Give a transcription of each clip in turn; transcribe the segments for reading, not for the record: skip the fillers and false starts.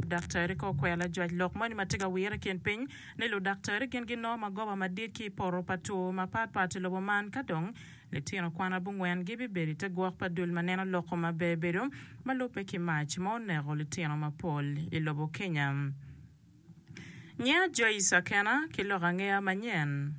ludaktari ka okwero lajwac lok moni ma tye ka wire i kin piny ni ludaktari gin ginongo magoba madit ki i poto pa two mapat pat i lobo man ka dong litino kwan abongwen gibibedo i te gwok pa dul ma neno loko maber bedo ma lubbe ki mac ma oneko litino mapol i lobo Kenya. Nyinga Joyce Akena ki lok angeya manyen.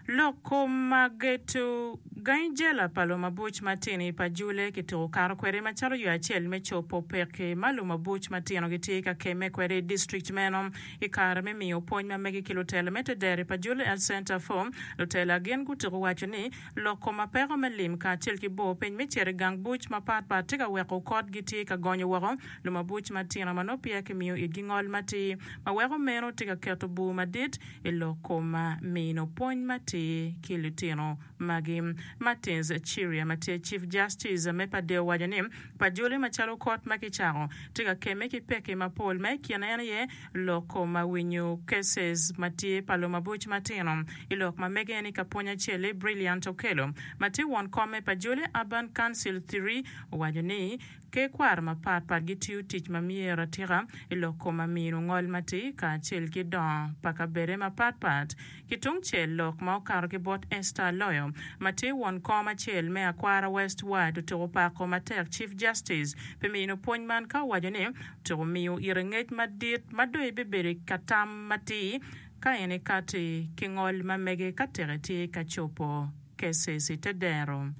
Lok kom ma geto gangi jela pa lumabuc matino i Pajule kituko kato kwede macalo yo acel me cobo pekki ma lumabuc matino gitye ka kemme kwede i district meno. I kare me miyo pwony ma megi ki lutela me tedero i Pajule Health Center for, lutela gin gutuko waco ni lok kom ma peko me lim kacel ki bor piny me cito i gang buc mapat pat tye ka weko kot gitye ka gonyo woko lumabuc matino ma nongo peya kimiyo itgi ngol matir ma weko meno tye ka keto bur madit i lok kom mino pwony matir ki litino magi. Martins Chiria ma tye Chief Justice me Padeo owaco ni pajoli macalo kot ma kicako tye ka kemme ki pekki mapol ma i kine en aye lok kom winyo cases ma tye pa lumabuc matino. I lok ma mege ni ka pwony acel-li Brilliant Okello ma tye won kom me Pajoli Urban Council ii owaco ni Ker kwaro mapat pat gitiyo tic ma myero atika i lok kom amino ngol matir kacel ki dongo pa kabede mapat pat. Ki tung cel, lok ma okato ki bot Esther Aloyo, ma tye won kom acel me Akwara West Ward otuko pako matek Chief Justice pi mino pwony man ka owaco ni otuko miyo ite ngec madit ma dong ebibedo ka tam matir ka en ekati ki ngol ma mege ka teke tye ka cobo cases i te dero.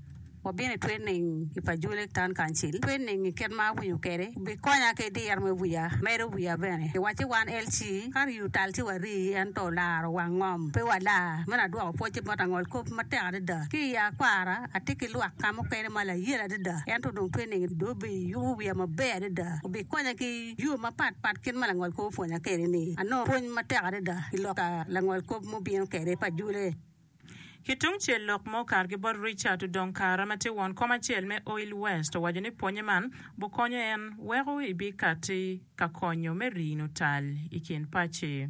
Wabino i training i Pajule Town Council. Training i kit ma awinyo kwede bikonya ki diro me wiya, medo wiya bene. Giwacci wan LC ka riyo tal ci warii ento laro wang ngom pe walar. Meno adwoko pwocce bot angol kop matek adada. Ki i akwara atye ki lwak ka mukene ma layel adada ento dong training dong obiyubo wiya maber adada. Obikonya ki yo mapat pat kit ma langol kop opwonya kwede ni anongo pwony matek adada i lok pa langol kop mubino kwede i Pajule. Ki tungcel, lok ma okato ki bot Richard Odong Kara ma tye won kom acel me Oil West owaco ni pwonye man bukonyo en weko ebikati ka konyo me rino tal i kin paci.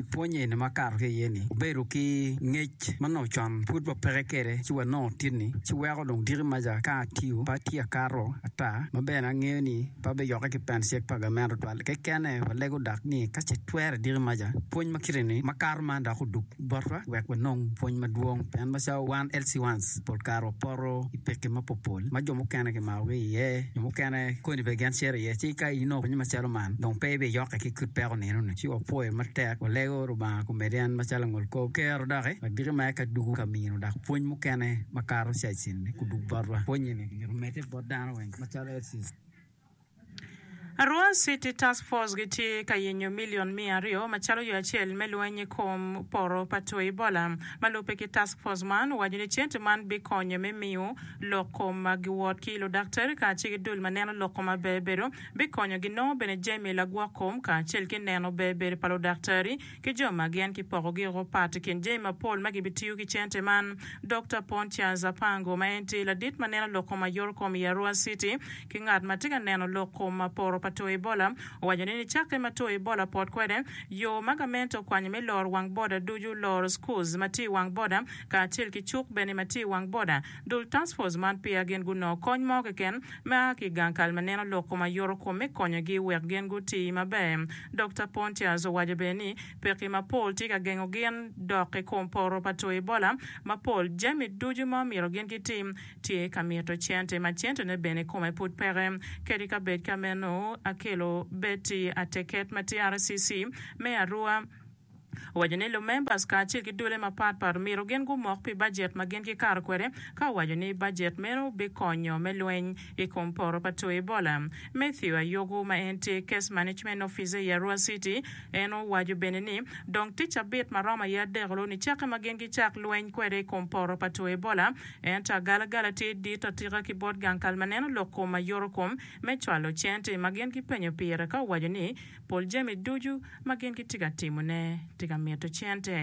I pwony eni ma akato ki iye ni, wabedo ki ngec ma nongo con pud wapeke kwede ci wanongo titni ci weko dong diki maca ka atiyo pe atye akato ata ma bene angeyo ni pe abiyokke ki pen cik pa gamente tutwal kekene walego dok ni ka ce twere diki maca pwony ma kite ni makato man dok odug botwa wek wanong pwony madwong pien macalo wan LC1s pol kare wapoto i pekki mapopol ma jo mukene kimakogi iye, jo mukene koni bene gin cito iye ci ka inongo pwony macalo man dong pe ibiyokke ki kit peko nino-ni ci wapwoyo matek walego Rubanga komedi en macalo langolkop kero doki wek diki mere ka dugo ka mino dok pwony mukene makato cacen-ni kudug botwa pwonye-ni myero omedde bot dano weng macalo LCs. Arua City Task Force gitye ka yenyo milion 200 macalo yo acel me lweny i kom poto pa two Ebola. Ma lubbe ki Task Force man, owaco ni cente man bikonyo me miyo lok kom ma giwot ki ludaktari kacel ki dul ma neno lok kom maber bedo, bikonyo ginongo bene jami lagwok kom kacel ki neno ber bedo pa ludaktari ki jo ma gin kipokogi woko pat i kin jami mapol ma gibitiyo ki cente man. Dokta Pontius Apango ma en tye ladit ma neno lok kom ayor kom i Arua City ki ngat ma tye ka neno lok kom ma poto pa two Ebola owaco ni nicakke ma two Ebola pot kwede, yo ma gamente okwanyo me loro wang boda ducu, loro schools ma tye i wang boda kacel ki cuk bene ma tye i wang boda. Dul task force man peya gin gunongo kony mo keken me a ki i gang kal ma neno lok kom ayoto kom me konyogi wek gin guti maber. Dokta Pontius owaco bene ni pekki mapol tye ka gengo gin dok i kom poto pa two Ebola mapol jami ducu ma omyero gin gitim tye ka mito cente ma centene bene kome pud peke. Kadi ka bed ka meno Akello Betty Ateket ma tye RCC me Arua Owaco ni lumembers kacel ki dule mapat pat omyero gin gumok pi bajet ma gin gikato kwede ka owaco ni bajet meno bikonyo me lweny i kom poto pa two Ebola. Matthew Ayogu ma en tye Case Management Officer i Arua City en owaco bene ni dong tic cabit maromo aye adek-lu nicakke ma gin gicak lweny kwede i kom poto pa two Ebola ento agalagala tye dit atika ki bot gang kal ma neno lok kom mayoto kom me cwalo cente ma gin gipenyo pire ka owaco ni Pol jami ducu ma gin gitye ka timone tye ka mito cente.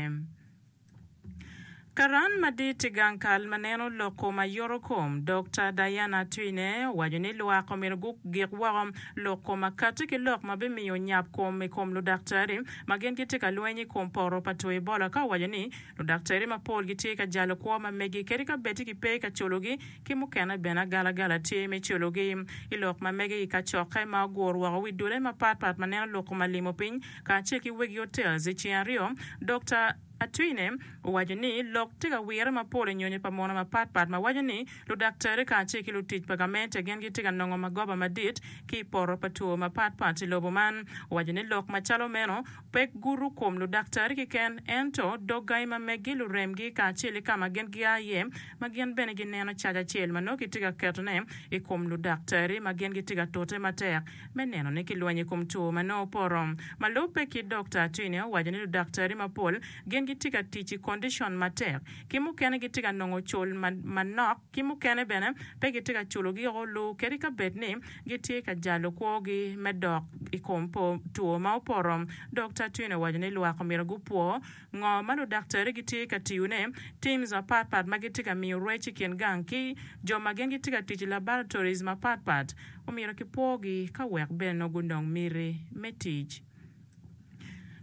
Karan madit i gang kal ma neno lok kom ayoto kom, Dokta Diana Atwine owaco ni lwak omyero gugik woko lok kom akati ki lok ma bimiyo nyap kom i kom ludaktari ma gin gitye ka lweny i kom poto pa two Ebola ka owaco ni ludaktari mapol gitye ka jalo kwo ma megi kadi ka bed ki pe ka culogi ki mukene bene agalagala tye me culogi. I lok ma mege i kacokke ma ogur woko wi dule mapat pat ma neno lok kom alimo piny kacel ki wegi hotels i ceng aryo, Dokta Atwine owaco ni lok tye ka wire mapol i nyonyo pa muno mapat pat ma waco ni ludaktari kacel ki lutic pa gamente gin gitye ka nongo magoba madit ki i poto pa two mapat pat i lobo man. Owaco ni lok macalo meno pe gudo kom ludaktari keken ento dog gangi ma meggi, luremgi kacel ki ka ma gin gia iye ma gin bene gineno cac acel ma nongo kitye ka ketone i kom ludaktari ma gin gitye ka tute matek me neno ni kilwenyo i kom two ma nongo opoto. Ma lubbe ki Dokta Atwine owaco ni ludaktari mapol gin gitye ka tic i kondicon matek, ki mukene gitye ka nongo cul manok ki mukene bene pe gitye ka culogi olu kadi ka bed ni gitye ka jalo kwogi me dok i kom two ma opoto. Dokta Atwine owaco ni lwak omyero gupwo Ngo ma ludaktari gitye ka tiyone? Teams mapatpat ma gitye ka miyo rwec i kin gang ki jo ma gin gitye ka tic i laboratories mapatpat omyero kipwogi ka wek bene nongo gunong miti me tic.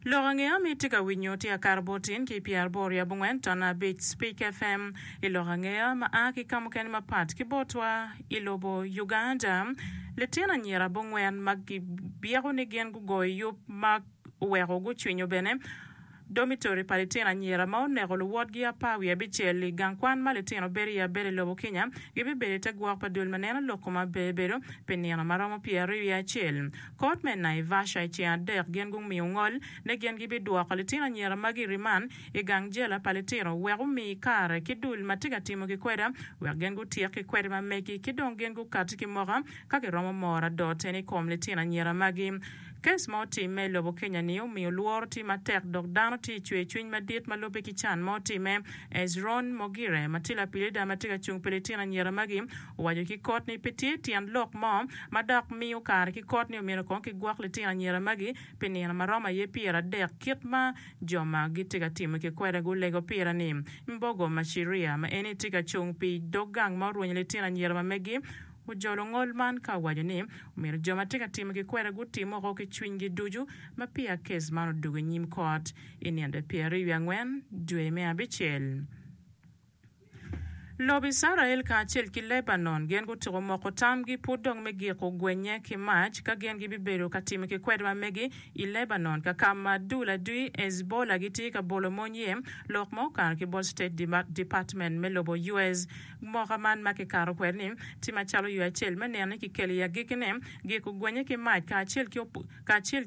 Lok angeya ma itye ka winyo tye akato bot in ki i pyeraboro wiye abongwen ton abic Speak FM. I lok angeya ma a ki ka mukene mapat ki botwa i lobo Uganda, litino anyira abongwen ma gibyeko ni gin gugoyo yub ma oweko gucwinyo bene domitori pa litino anyira ma oneko luwotgi apar wiye abicel i gang kwan ma litino bedo iye abeda i lobo Kenya gibibedo i te gwok pa dul ma neno lok kom aber bedo pi nino ma romo pyeraryo wiye acel. Kot me Naivasha i ceng adek gin gumiyo ngol ni gin gibidwoko litino anyira magi i riman i gang jela pa litino wek omi kare ki dul ma tye ka timo ki kweda wek gin gutyek ki kwede ma megi ki dong gin gukati ki moka ka giromo moro adot en i kom litino anyira magi. Kes ma otimme i lobo Kenya-ni omiyo lworo tye matek dok dano tye i cwercwiny madit ma lubbe ki can ma otimme. Ezron Mogire, ma tye lapilida ma tye ka cung pi litino anyira magi, owaco ki kot ni pe tye tyen lok mo ma dok miyo kare ki kot ni omyero kong kigwok litino anyira magi pi nino ma romo aye pyeradek kit ma jo ma gitye ka timo ki kwede gulego pire-ni. Mbogo Machiria, ma en tye ka cung pi dog gang ma orwenyo litino anyira ma megi, Ojolo ngol man ka owaco ni omyero jo ma tye ka timo ki kwede gutim woko ki cwinygi ducu ma peya kes man odwogo i nyim kot i nino pyeraryo wiye angwen dwe me abicel. Lobo Icrael kacel ki Lebanon gin gutyeko moko tamgi pud dong me giko gwenye ki mac ka gin gibibedo ka timo ki kwede ma megi i Lebanon ka ka ma dul adwi Hezbollah gitye ka bolo mony iye, lok ma okato ki bot State Department me lobo US. Mwaka man ma kikato kwede-ni tye macalo yo acel me neno ni kikelo i agikkine giko gwenye ki mac kacel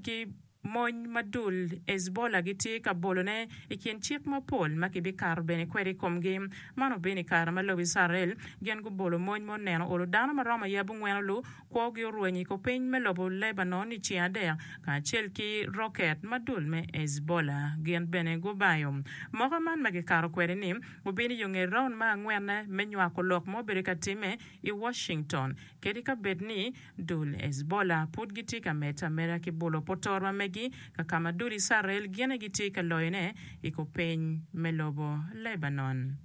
ki mony ma dul Hezbollah gitye ka bolone i kin cik mapol ma kibikato bene kwede i komgi. Man obino i kare ma lobo Icrael gin gubolo mony ma oneno olo dano ma romo aye abongwen olu Kwogi orweny i kupiny me lobo Lebanon i ceng adek, kacel ki roket ma dul me Hezbollah gin bene gubayo. Moka man ma gikato kwede-ni obino i yo nge raun me angwenne me nywako lok ma obedo ka timme i Washington. Kadi ka bed ni dul Hezbollah pud gitye ka medde ameda ki bolo potor ma megi ka ka ma dul Icrael gin aye gitye ka loyone i kupiny me lobo Lebanon.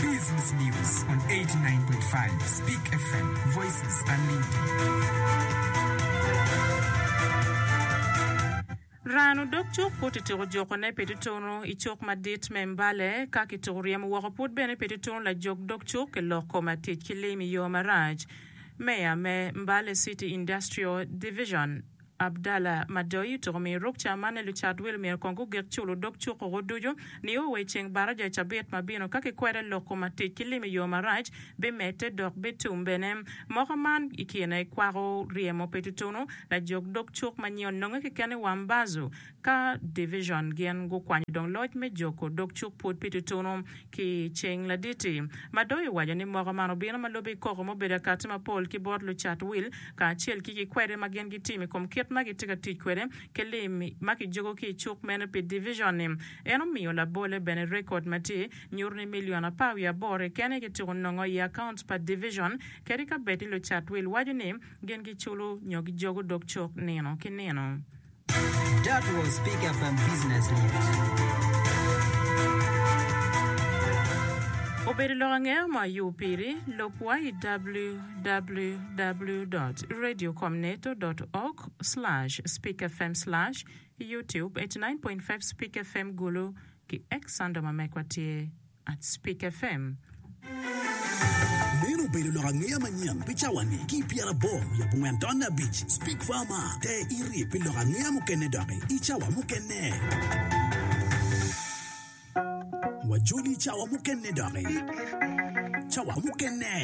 Business News on 89.5 Speak FM, Voices Unlimited. Rano dog cuk pud kituko jukone pi tutunu i cuk madit me Mbale ka kituko ryemo woko pud bene pi tutunu lajok dog cuk ki lok kom atic ki lim i yo marac. Meya me Mbale City Industrial Division, Abdallah Madoi otuko miyo rukca man ni lucat wil myero kong gugik culo dog cuk oko ducu nio wa i ceng baraja i cabit ma bino ka kikwede lok kom atic ki lim i yo marac bimedde dok bitum bene. Moko man i kine kwako ryemo pi tutunu lajog dog cuk ma nyinge ononge keken i Wambazu ka division gin gukwanyo dong loc me joko dog cuk pwod pi tutunu ki ceng laditi. Madoi owaco ni moko man obino ma lube i koko mubedo akati mapol ki bot lucat wil kacel ki kikwede ma gin gitimo i kom kit ma gitye ka tic kwede ki lim ma kijogo ki i cuk meno pi division-ni. En omiyo labole bene rekod ma tye nyuto ni milion apar wiye aboro keken aye kityeko nongo i akaunt pa division kadi ka bed ni lucat wil waco ni gin giculo nyo gijogo dog cuk nino ki nino. That was Speak FM Business News. Obedo lok angeya mo ayub piri, lub wa i www dot radiocomneto dot org slash speakfm slash youtube 89.5 speak fm Gulu ki X handle ma mekwa tye at speak fm. Meno obedo lok angeya manyen pi cawa-ni ki i pyeraboro wiye abongwen tonne abic Speak Farmer Ter iri pi lok angeya mukene doki i cawa mukene. Wajoli i cawa mukene doki. Cawa mukene.